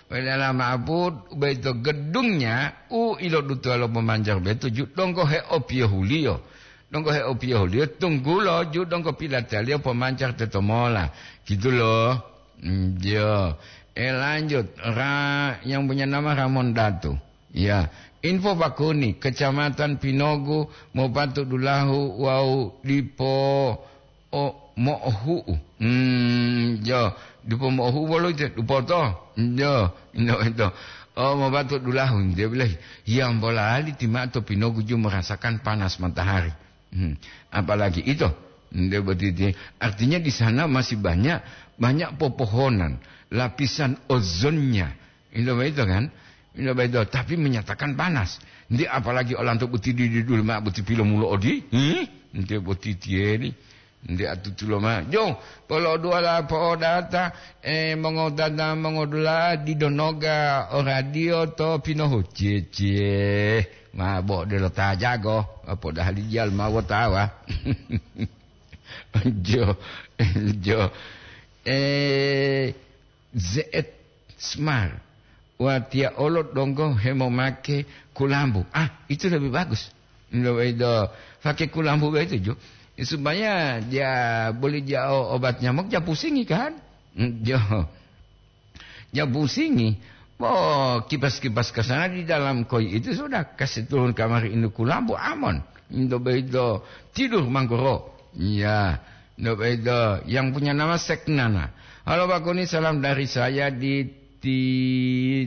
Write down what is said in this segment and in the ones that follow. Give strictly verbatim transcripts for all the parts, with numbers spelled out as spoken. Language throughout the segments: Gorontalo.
Waliyala ma'bud, boyito gedungnya u ilodutuwa lo pomanjar boyito ju donggo heopiyohuliyo. Donggo heopiyohuliyo, tunggulo ju donggo pilataliyo pomanjar tetomola. Gitu loh. Njo. Eh, lanjut. Ra-, yang punya nama Ramon Datu. Ya. Info Bakuni, Kecamatan Pinogu, Mopatu Dulahu, wau dipo o mo'ohu'u. Hmm, jo, dipo mo'ohu'u bolo ite, dupoto. Jo, indo ito. Oh, Mopatu Dulahu, dia bilang, yang bolali timato Pinogu ju merasakan panas matahari. Hmm, apalagi itu. Nde boti dia. Artinya di sana masih banyak, banyak pepohonan, lapisan ozonnya. Ilo boyito kan? Ilo boyito, tapi menyatakan panas. Nde apalagi olanto boti di, di dulu ma boti pilomulo odi. Hmm? Nde boti tieri. Nde atutulo ma. Jo, polo dua la po'odata, eh, mongodata, mongodula, didonoga, o radio to pinohu. Cie, cie. Ma bo de lo tajago, podahali jal ma wotawa. Jo, jo. Eh, Z Smart. Watiya olo donggo hemomake kulambu. Ah, itu lebih bagus. Nggak begitu. Pakai kulambu begitu, Jo. Supaya dia boleh dia o-, obat nyamuk, dia pusingi kan? Hmm, Jo. Dia pusingi. Oh, kipas-kipas ke sana di dalam koi itu sudah kasih turun kamar ini kulambu aman. Nggak begitu. Tidur manggoro. Iya. Nggak begitu. Yang punya nama Seknana. Halo, Pak Kuni, salam dari saya di, di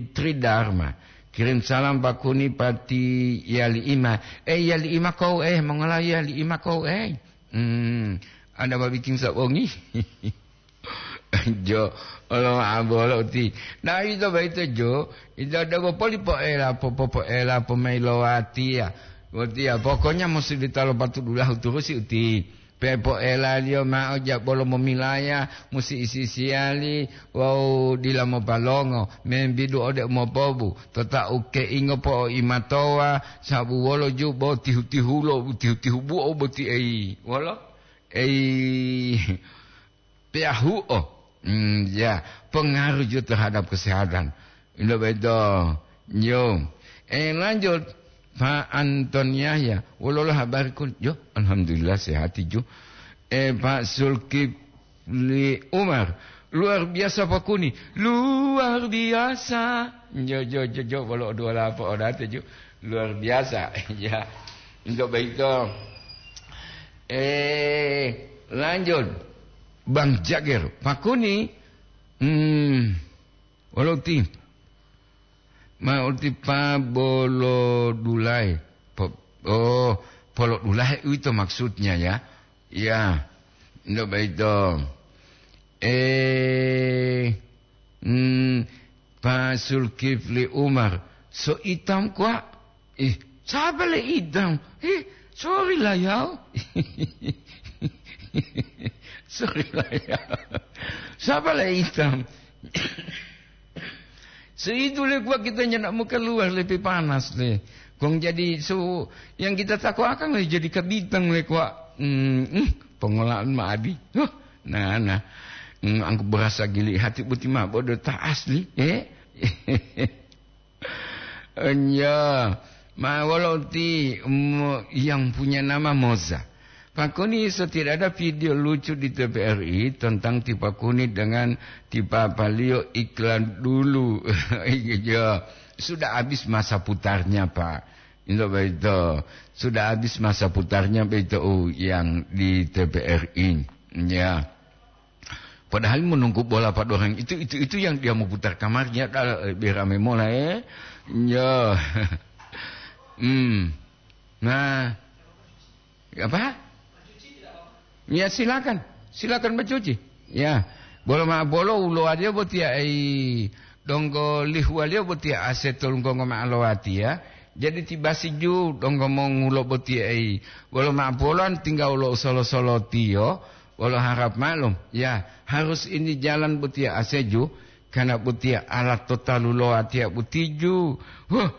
Tridharma. Kirim salam, Pak Kuni, pati Yali Ima. Eh, Yali Ima kau, eh, mongala Yali Ima kau, eh. Hmm, ada babiking sabongi. Jo, olo abolo ti. Nah, itu baik itu, Jo. Itu ada bopoli poela, po, po, poela, po mailowati ya. Boti ya, pokoknya mesti ditalo patu dulahu turusi uti. Pepoelaliyo ma'o jabolo momilaya, musi isi-isiyali wawu dila mopalongo, membidu ode umopobu, tota'u keingo po'oimatowa, sabu wolo ju bo tihu-tihulo, tihu-tihu buo boti ei. Wolo? Ei, peyahuo. Hmm, ya, pengaruh ju terhadap kesehatan. Ilo beto. Yo. Eh, lanjut. Pak Anton Yahya, wolola habari kun? Yo, alhamdulillah sehat ju. Eh, Pak Zulkifli Umar, luar biasa Pak Kuni, luar biasa. Jo, jo, jo, jo, wolo dua lapo odate ju, luar biasa. Ya, untuk begitu. Eh, lanjut, Bang Jager, Pak Kuni, hmm, wolo ti. Ma uti pa bolo dulai. Po-, oh, polo dulai itu maksudnya ya. Ya, ndak begitu. Eh, hmm, Pak Zulkifli Umar, so itam kuak. Ih, sapa le itam? Ih, sorry lah ya. Sorry lah ya. Sapa le itam? Seitu le kuak kita nyenak mau keluar lebih panas le. Kong jadi so yang kita takwakan le jadi kabitang le kuak. Hmm, hmm, pengolahan ma adi. Huh, nah, nah. Hmm, angku berasa gili hati buti ma bodo ta asli, eh? Enya, ma wolo ti mo-, yang punya nama Moza. Pakuni so tidak ada video lucu di T V R I tentang Tipakuni dengan tipapaliyo iklan dulu. Iya, sudah habis masa putarnya, Pak. Itu begitu. Sudah habis masa putarnya begitu, oh, yang di T V R I. Ya. Padahal menunggu bola pada orang itu, itu, itu yang dia mau putar kamarnya, dah, eh, biar rame mola, eh. Ya. Hmm. Nah. Apa? Ya, silakan. Silakan mencuci. Ya. Bolo ma-, bolo ulo aja buat ya, eh, donggo lihu aja buat ya, asetul gonggo ma alowati ya. Jadi tiba siju donggo mongulo buat ya, eh, bolo ma-, bolo tinggal ulo solo-solo tiyo. Wolo harap maklum, ya, harus ini jalan butiya aseju, karena butiya alat totalu lo atiya butiju. Huh,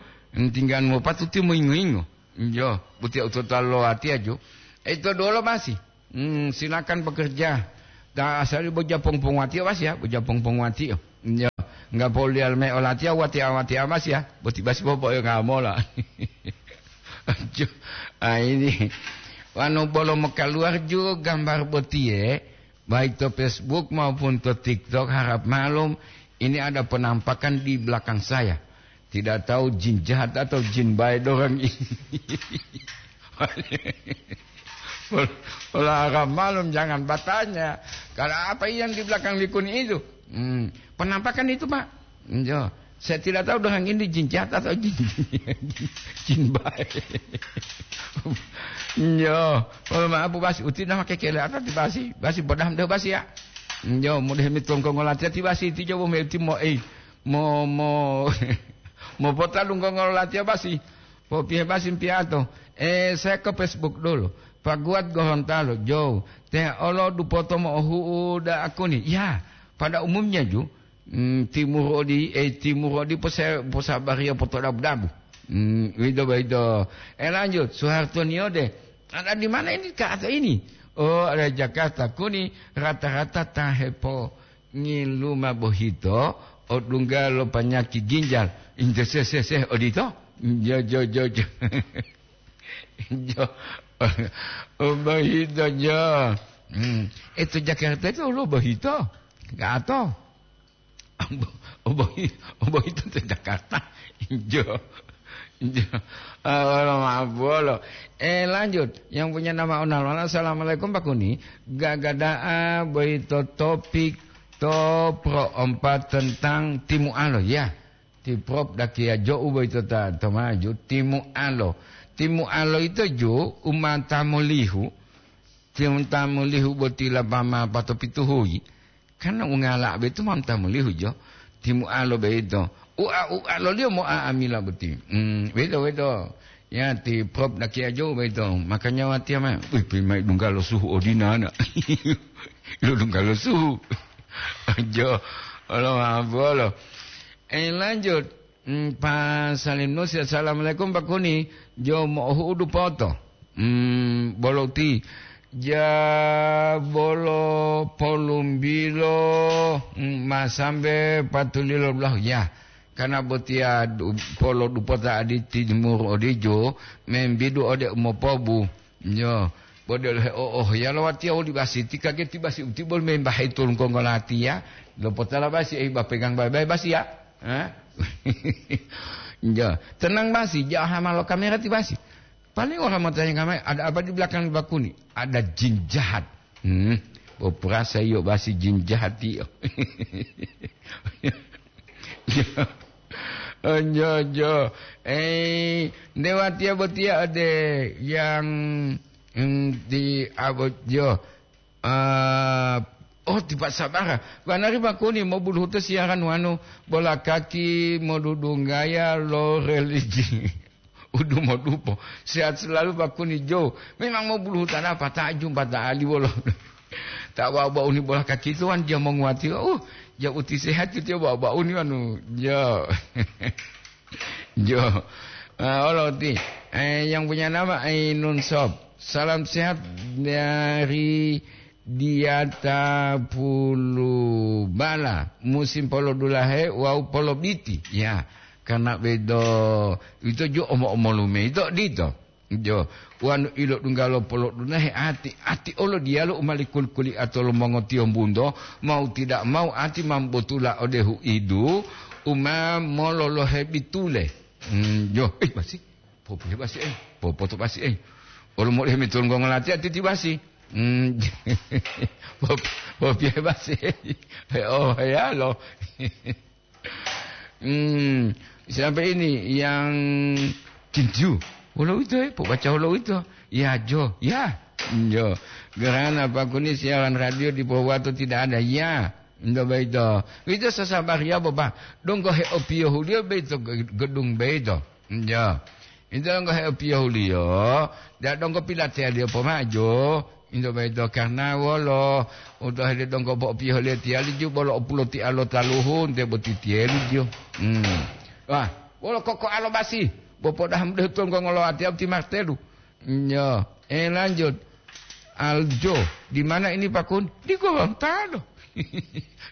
tinggal mo patuti mo ingo-ingo. Yo, butiya utotalu lo atiya ju. Itu dulu masih. Hmm, silakan bekerja. Ta asali boja pong-pong watiyo, Mas, ya, boja pong-pong watiyo. Yo. Enggak poliyal me olatiya watiya-watiya basi ya, boti basi popo'yo ngamola. Jo, ah, ini. Wanu bolo mokaluar ju gambar botiye, baik to Facebook maupun to TikTok, harap malum, ini ada penampakan di belakang saya. Tidak tahu jin jahat atau jin baik orang ini. Ola, ola harap malum, jangan bertanya. Kalau apa yang di belakang likuni itu? Hmm, penampakan itu, Pak. Jo, saya tidak tahu dengan ini jin jahat atau jin, jin baik. Jo, kalau maaf, Bu Basi, uti nama kekele ata ti Basi. Basi, bodah deh Basi ya. Jo, mudah mitongko ngolatiya ti Basi, ti jo bo meti mo, eh, mo, mo, mo pota lunggo ngolatiya Basi. Popiye Basi piato. Eh, saya ke Facebook dulu. Pak Guat Gorontalo, Jo. Te olo dupoto mo'ohu'u da'akuni. Ya, pada umumnya ju, Hmm, timur odi, eh, timur odi pose-, posabariyo potodabu-dabu. Hmm, wido boyito. Eh, lanjut, Soeharto Niode. Ada di mana ini, Kak, atau ini? Oh, ada Jakarta. Kuni rata-rata ta hepo ngiluma bohito, odungga lo panyaki ginjal. Injo se, se, se, odito? Jo, jo, jo, jo. Jo. Oh, bohito, jo. Hmm. Eh, to Jakarta itu lo bohito. Gato. Obo-, obohi-, obohito to Jakarta. Jo. Jo. Ah, wolo ma'apuwolo. Eh, lanjut. Yang punya nama Onalona, "Assalamualaikum, Pak Kuni. Gagada'a boyito topik to pro empat tentang timu'alo, ya." Ti Prop dakiya jo'u boyito ta to maju, timu'alo. Timu'alo ito ju umata molihu, ti umata molihu boti lapama pato pituhuyi. Karena ungala boyito ma umata molihu jo. Timu'alo boyito. Ua-, ualoliyo mo'a'amila boti. Hmm, weto, weto. Ya, ti Prop dakiya jo'u boyito. Makanya watiya ma, wih, pi mai dungga lo suhu odinana. Lo dungga lo suhu. Jo, olo ma'apuwolo. Eh, lanjut. Hmm, Pak Salim Nusi, "Assalamualaikum, Pak Kuni. Jo mo'ohu'u dupoto." Hmm, bolo ti. Ja bolo polumbilo, hmm, ma sambe patulilo dulahu. Ya, karena botiya du-, polo dupota adi timur odijo, membidu ode umopobu. Yo, bo delo he o-, oh, ya lo watiya woli basi, ti kageti basi uti bol membahe tulung konggo latiya, lo potala basi, eh, ba pegang bae-bae basi ya. Hah? Yo, tenang basi, ja hama lo kamera ti basi. Paling orang mau tanya kamera, "Ada apa di belakang Pak Kuni?" "Ada jin jahat." Hmm, bo perasa iyo basi jin jahat iyo. Jo. Oh, jo, jo. Eh, nde watiya botiya ode yang, mm, di abot jo. Ah, oh, tipa sabara. Banari Pak Kuni mobuluhuto siaran wanu bola kaki modudunggaya lo religi. Udu modupo. Sehat selalu, Pak Kuni Jo. Memang mau bulu hutana apa? Tak jumpa, tak ali bolo. Tak bawa-bawa uni bola kaki itu kan dia menguati. Uh, jauh uti sehat itu ya bawa-bawa uni anu. Jo. Jo. Ah, olo ti. Eh, yang punya nama Ainun Sob. Salam sehat dari Diata Pulubala, musim polodulahe wawu polobiti. Ya, karena bedo ito ju omo-omolume ito dito. Jo, wanu ilodunggalo polodulahe ati, ati olo diyalu u mali kuli-kuliato lo mongotiyombunto, mau tidak mau ati mambotula ode huidu, uma mololohe bitule. Hmm, jo, eh, basi. Popiye basi, eh, popoto basi, eh. Olo mode mitulunggo ngolati ati ti basi. Hmm. Pop-, popiye basi, eh. Oh, ya lo. Hmm, siapa ini yang kinju? Wolo ito, eh, pobaca wolo ito. Ya, jo, ya. Jo. Gerana Pak Kuni siaran radio di Pohuwato tidak ada. Ya. Ndo baito. Ito sasabar ya, Bapak. Donggo heopiyohuliyo baito ge-, gedung baito. Njo. Ito donggo heopiyohuliyo, da donggo pilateyaliyo pomaju. Ito baito karna wolo, utohede donggo po'opiyohuliyo tiyali ju bolo opulotiya lo taluhu nte boti tiyeli ju. Hmm. Wah, wolo kokoalo basi, bo podaha mudahu tonggo ngolowatiyau ti Martelu. Nyo, eh, lanjut. Aljo, di mana ini, Pak Kun? Di Gorontalo.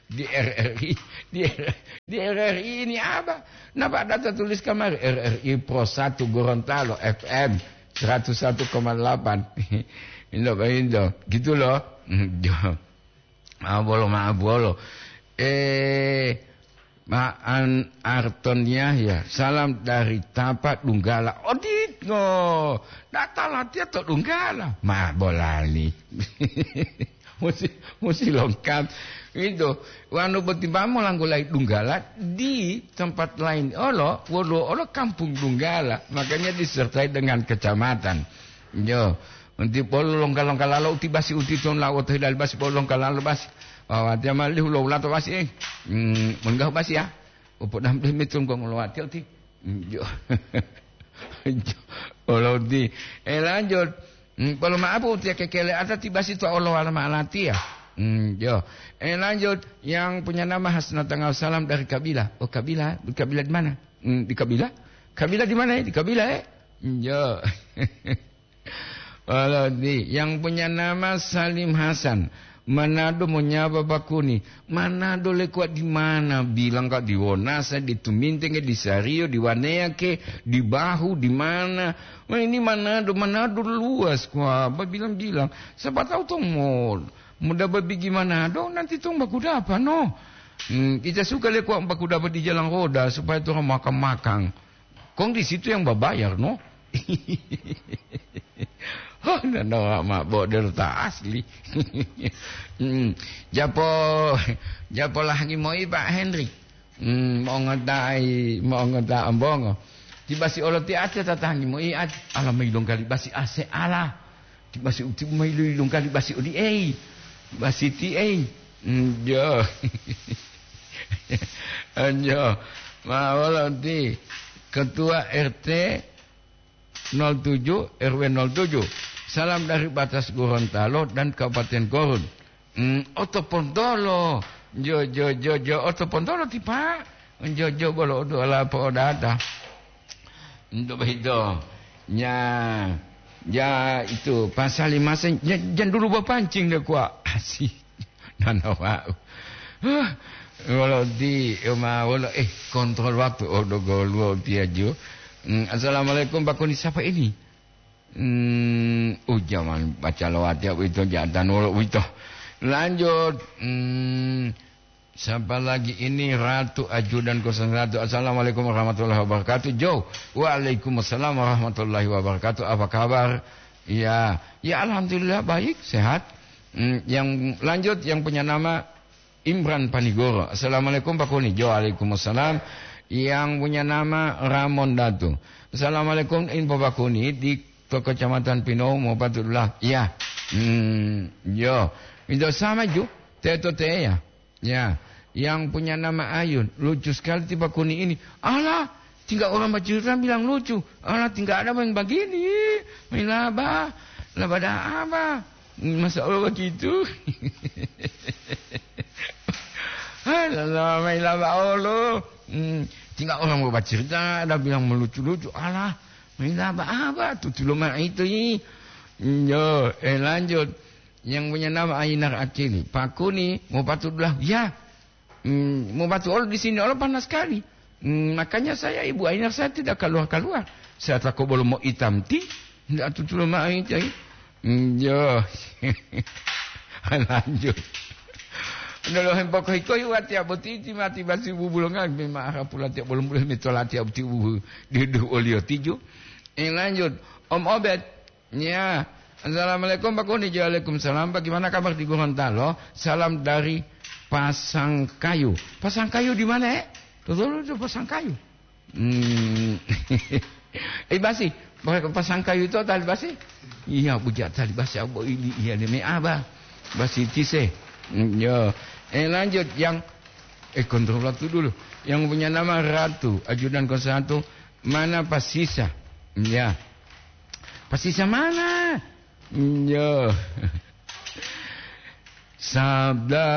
Di R R I, di, R- di R R I ini apa? Napa data tulis kamari R R I Pro satu Gorontalo F M seratus satu koma delapan. Indo, indo. Gitu loh. Hmm, jo. Maaf bolo, maaf bolo. Eh, Maan Arton Yahya, salam dari Tapa Dunggala. Odito, data latihan to Dunggala. Ma bolali. Musi, musi lengkap. Itu, wanu boti bamo langgulai Dunggala di tempat lain olo, woluwo olo kampung Dunggala. Makanya disertai dengan kecamatan. Yo, unti polu longka-longka lalo uti basi uti ton lawo to hilali basi polu longka lalo basi. Wawatiya malihu lo wulato basi, eh. Hmm, menggahu basi ya. Upo dam demi tunggu ngolowati uti. Hmm, yo. Yo, olo uti. Eh, lanjut. Hmm, polu maapu uti kekele ata ti basi to olo wala maalati ya. Hmm, yo. Eh, lanjut. Yang punya nama Hasna Tangau, salam dari Kabila. Oh, Kabila. Kabila di mana? Hmm, di Kabila? Kabila di mana ya? Di Kabila, eh? Hmm, yo. Walodi, yang punya nama Salim Hasan. Manado monyaba bakuni. Manado lekuwa di mana? Bilang ka di Wonasa, di Tumintenge, di Sario, di Wanea ke, di Bahu, di mana? Wah, ini Manado, Manado luas kwa. Ba bilang-bilang. Siapa tahu tong mo muda babigi Manado, nanti tong baku dapa, no? Hmm, kita suka lekuwa baku dapa di jalan roda supaya tong makan-makan. Kong di situ yang babayar, no? Oh, nana ma bodel ta asli. Hmm, japo, japo lahangi moi Pak Hendrik. Hmm, mongotai, mongota ambongo. Tiba si olo ti ate tatangi moi at, ala mai dongkali basi ase ala. Ti basi uti umai lui lungkali basi odi ei. Basi ti ei. Njo. Njo. Ma wolo ti ketua R T nol tujuh, R W nol tujuh. Salam dari Batas Gorontalo dan Kabupaten Korun. Hmm, Oto Pontolo. Jo, jo, jo, jo, Oto Pontolo ti, Pak. Jo, jo, bolo odu ala po odata. Untuk begitu. Nya, ya itu, pasali masing, ya, jan dulu bapancing deh, kuak. Asik. Nana wau. Huh, wolo di, ma, wolo, eh, kontrol waktu. Oh, dogoluo tiaju. Hmm, assalamualaikum, Pak Kuni. Siapa ini? Hmm, uh, jangan baca lewat ya, itu jatan wolo, itu. Lanjut. Hmm, siapa lagi ini? Ratu Ajudan kosong satu. Assalamualaikum warahmatullahi wabarakatuh. Jo. Waalaikumsalam warahmatullahi wabarakatuh. Apa kabar? Ya, ya, alhamdulillah, baik, sehat. Hmm, yang lanjut, yang punya nama Imran Panigoro. Assalamualaikum, Pak Kuni. Jo, waalaikumsalam. Yang punya nama Ramon Datu. Assalamualaikum, info Pak Kuni di to Kecamatan Pinou mau patutlah. Ya. Hmm, yo. Itu sama ju. Teto te ya. Ya. Yang punya nama Ayun. Lucu sekali ti Pak Kuni ini. Alah, tinggal orang bercerita bilang lucu. Alah, tinggal ada yang begini. Main laba. Laba dah apa? Masa Allah begitu? Alah, main laba Allah. Hmm, tinggal orang mau bercerita, ada bilang melucu-lucu. Alah, main laba apa? Tutu lo mah itu, i. Yo, eh, lanjut. Yang punya nama Ainar Akili. Pak Kuni, mau patutlah. Ya. Hmm, mau batu olo di sini olo panas sekali. Hmm, makanya saya, Ibu Ainar, saya tidak keluar-keluar. Saya takut belum mau hitam ti, tidak tutulo mai cai. Hmm, yo. Lanjut. Udah lo hempok hiko yu ati aboti ti mati basi bubulongan, memang arah pula tiap belum boleh mitolati aboti bubu di duh olio tiju. Eh, lanjut. Om Obed. Ya. Assalamualaikum, Pak Kuni. Waalaikumsalam. Bagaimana kabar di Gorontalo? Salam dari Pasangkayu. Pasangkayu di mana, eh? Betul itu Pasangkayu. Hmm. Eh, basi. Pasangkayu itu tali basi? Iya, bujak tali basi. Abo ini, iya, demi apa? Basi tise. Hmm, yo. Eh, lanjut. Yang, eh, kontrol waktu dulu. Yang punya nama Ratu, ajudan kosatu. Mana Pasisa? Ya. Pasisa mana? Yo. Sabda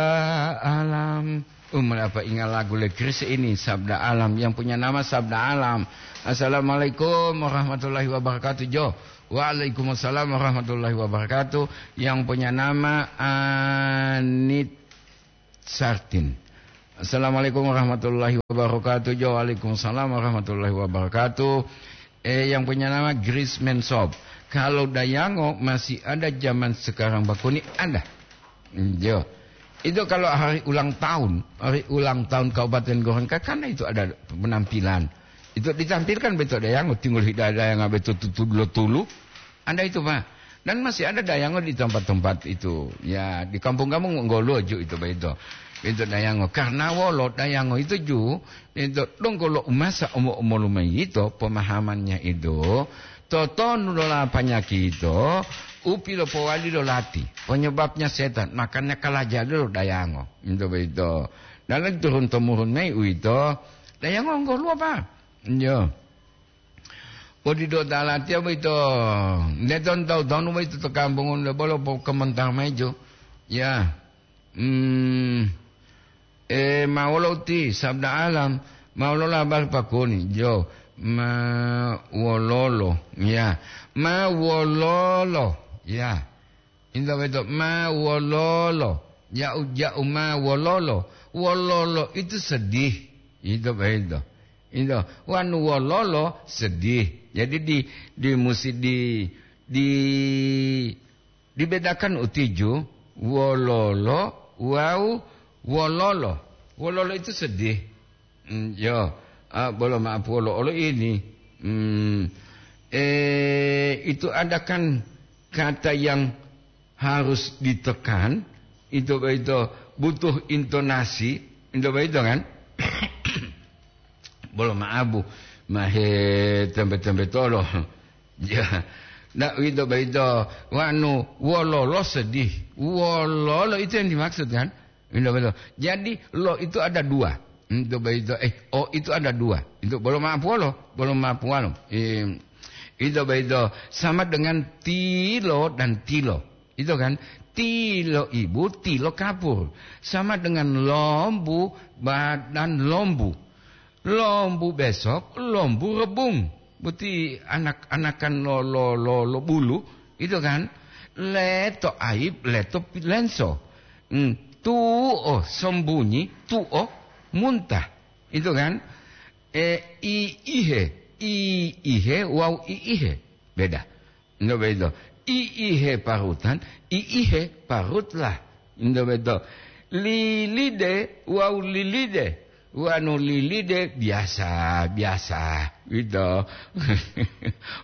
Alam. Um, apa ingat lagu le Chris ini, Sabda Alam, yang punya nama Sabda Alam. Assalamualaikum warahmatullahi wabarakatuh, Jo. Waalaikumsalam warahmatullahi wabarakatuh. Yang punya nama Anit Sartin. Assalamualaikum warahmatullahi wabarakatuh. Jo, waalaikumsalam warahmatullahi wabarakatuh. Eh, yang punya nama Grace Mensop. Kalau Dayango masih ada zaman sekarang, Pak Kuni, ada. Jo. Itu kalau hari ulang tahun, hari ulang tahun Kabupaten Gorontalo, kan itu ada penampilan. Itu ditampilkan beto Dayango, tinggal hidaya Dayango beto tutu dulu tulu. Ada itu, Pak. Dan masih ada Dayango di tempat-tempat itu. Ya, di kampung-kampung nggoluwo ju itu, Pak, itu. Itu Dayango. Karena wolo Dayango itu ju, itu donggo lo umasa omo-omolu mayi itu, pemahamannya itu, totonu lo lapanyaki itu, upi lo powali lo lati. Penyebabnya setan, makanya kalajali lo Dayango. Itu, Pak, itu. Dan lagi turun-temurun mayi uwito, Dayango nggoluwo, Pak. Iyo. Podido talatiya boyito, nde ton tawu-tawunu boyito to kampungu nde bolo pokomentar mayi jo. Ya. Hmm. E, ma wolo uti sabda alam, ma wolo labar pakoni jo. Ma wololo. Ya. Ma wololo. Ya. Ito boyito, ma wololo, ja'u-ja'u ma wololo. Wololo itu sedih. Ito boyito. Ito, wanu wololo sedih. Jadi di, di musi di, di, dibedakan utiju wololo wawu wololo. Wololo itu sedih. Hmm, yo, ah, bolo maaf wolo olo ini. Hmm, eh, itu ada kan kata yang harus ditekan, itu, itu butuh intonasi, itu, itu kan? Bolo maabu, mahe tembe-tembe tolo. Ya, ndak itu, itu, wanu wololo sedih. Wololo itu yang dimaksud kan? Itu betul. Jadi, lo itu ada dua. Itu begitu. Eh, o itu ada dua. Itu belum apa lo? Belum apa lo? Eh, itu begitu. Sama dengan tilo dan tilo. Itu kan? Tilo ibu, tilo kapur. Sama dengan lombu, badan lombu. Lombu besok, lombu rebung. Boti anak-anakan lo, lo, lo, lo bulu, itu kan? Leto aib, leto pi-, lenso. Hmm, tuo sembunyi, tuo muntah. Itu kan? E, i ihe, i ihe, wawu i ihe. Beda. Ndo beito. I ihe parutan, i ihe parutlah. Ndo beito. Lilide wawu lilide. Wanu lilide biasa, biasa. Gitu.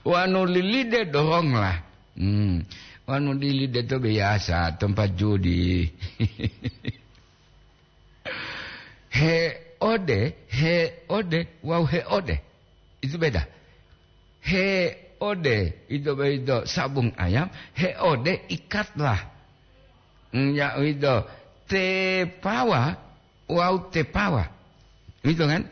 Wanu lilide doronglah. Hmm. Wanu lilide to biasa, tempat judi. He ode, he ode, wawu he ode. Itu beda. He ode, itu beito sabung ayam, he ode ikatlah. Nya uwito, tepawa wawu tepawa. Uwito kan?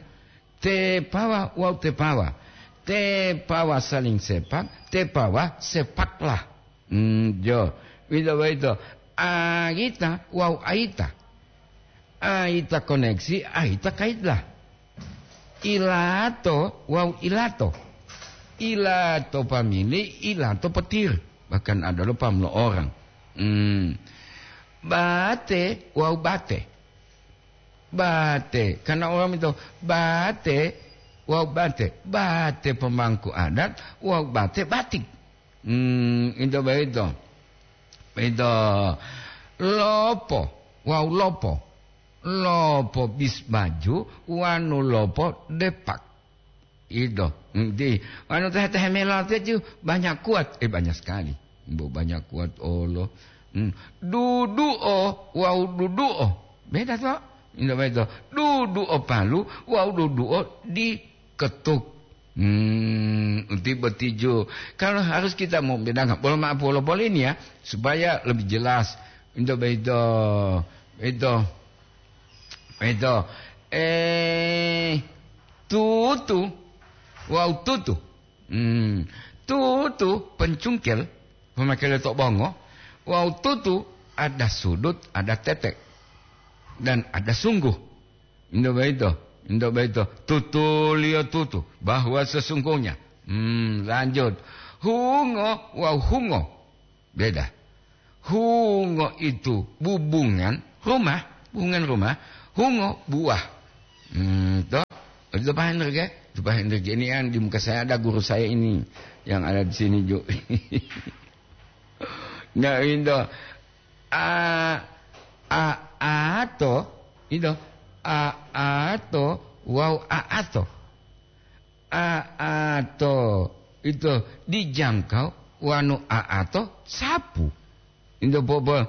Tepawa wawu tepawa. Tepawa saling sepak, tepawa sepaklah. Hmm, jo. Uwito boyito, ayita wawu ayita. Ayita koneksi, ayita kaitlah. Ilato wawu ilato. Ilato pamili, ilato petir. Bahkan ada lo pam lo orang. Hmm. Bate wawu bate. Bate. Karena orang itu bate wawu bate. Bate pemangku adat wawu bate batik. Hmm, itu begitu. Itu lopo wawu lopo. Lopo bis baju, wanu lopo depak. Ido, enti wanu tehe-tehe mela teju banyak kuat, eh, banyak sekali. Bu, banyak kuat, Allah. Hmm. Duduo wawu duduo. Beda to? Indo beda. Duduo palu wawu duduo diketuk. Hmm, uti botijo. Kalau harus kita mau bedakan, bolo maaf, bolo, bolo ini ya, supaya lebih jelas. Indo beda. Beda. Itu, eh, tutu, wawu tutu. Hmm, tutu pencungkel, pemakele to bongo, wawu tutu ada sudut, ada tetek, dan ada sungguh. Indo boyito, indo boyito, tutuliyo tutu, bahwa sesungguhnya. Hmm, lanjut. Hungo wawu hungo. Beda. Hungo itu bubungan rumah, Hubungan rumah, hungo buah. Hmm, toh? Itu paham ke? Itu paham ke? Ini yang di muka saya ada guru saya ini yang ada di sini, Jo. Nah, itu. A, a, ato, itu. A, ato, wau aato. A, ato, itu dijangkau, wanu aato, sapu. Into bobo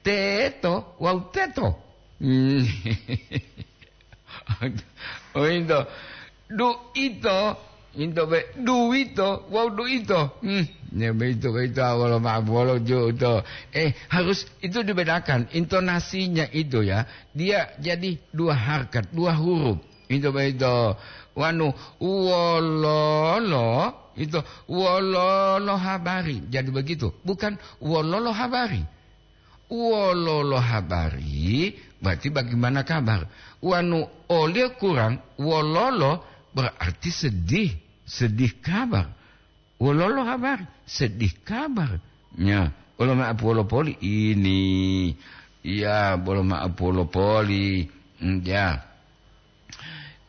teto wawu teto. Hmm. Oh, into duito, into be duwito wawu duito. Hmm. Ya, beito, beito, wolo ma'o bolo ju to. Eh, harus itu dibedakan intonasinya itu ya. Dia jadi dua harkat, dua huruf. Into beito. Wanu wololo, itu wololo habari. Jadi begitu. Bukan wololo habari. Wololo habari, berarti bagaimana kabar. Wanu oleh kurang, wololo berarti sedih, sedih kabar. Wololo habari, sedih kabar. Ya, bolo ma'o poli ini. Ya, bolo ma'o poli. Hmm, ya.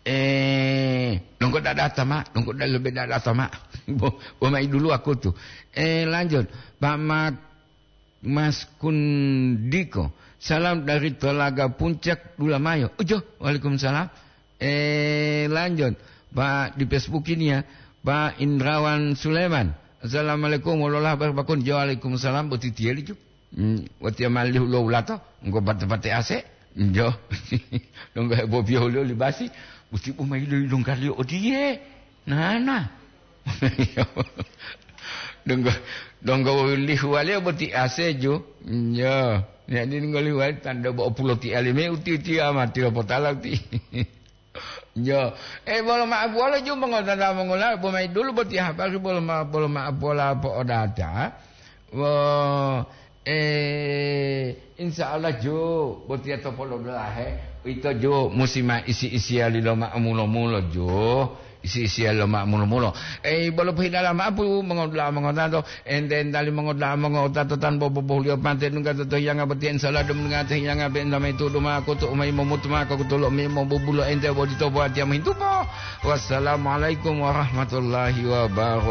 Eh, nunggu dadata, Mak. Nunggu da-, lebih dadata, Mak. Bo, bo mai dulu aku tuh. Eh, lanjut. Pak Mat-, Mas Kundiko. Salam dari Telaga Puncak, Dulamayo. Ujo, waalaikumsalam. Eh, lanjut. Pak, di Facebook ini ya. Pak Indrawan Sulaiman. Assalamualaikum, wololah barakatuh. Waalaikumsalam, boti tiyeli ju. Hmm, watiya malihu lo wulato, engko pate-pate ase, njo. Donggo hebobiyo lo libasi, uti bu mayi lo ilungkaliyo odiye. Nana. Donggo, donggo lihuwaliyo boti ase ju. Njo. Jadi donggo lihuwali tanda bo opulo ti alime uti-uti amati lo potala uti. Yo, eh, bolo ma'o bolo ju mongotata mongola, bo mayi dulu boti habari bolo ma-, bolo ma'o pola po'odata. Wo, eh, insya Allah ju, botiya to polo dulahe, ito ju musi ma isi-isiyali lo ma'o mulo-mulo ju, isi-isiyali lo ma'o mulo-mulo. Eh, bolo pohidala ma'o pu mongodula mongotato, Ente entali mongoda'a mongo'otato tanpa bobohuliyo pate dungga to tohiyanga boti, insya Allah dum dungga tohiyanga be enta maitudu ma'o kutu u ma yimomutu ma'o kutu lo u ma yimobubulo ente bodito bo watiya mohintupo. Wassalamualaikum warahmatullahi wabarakatuh.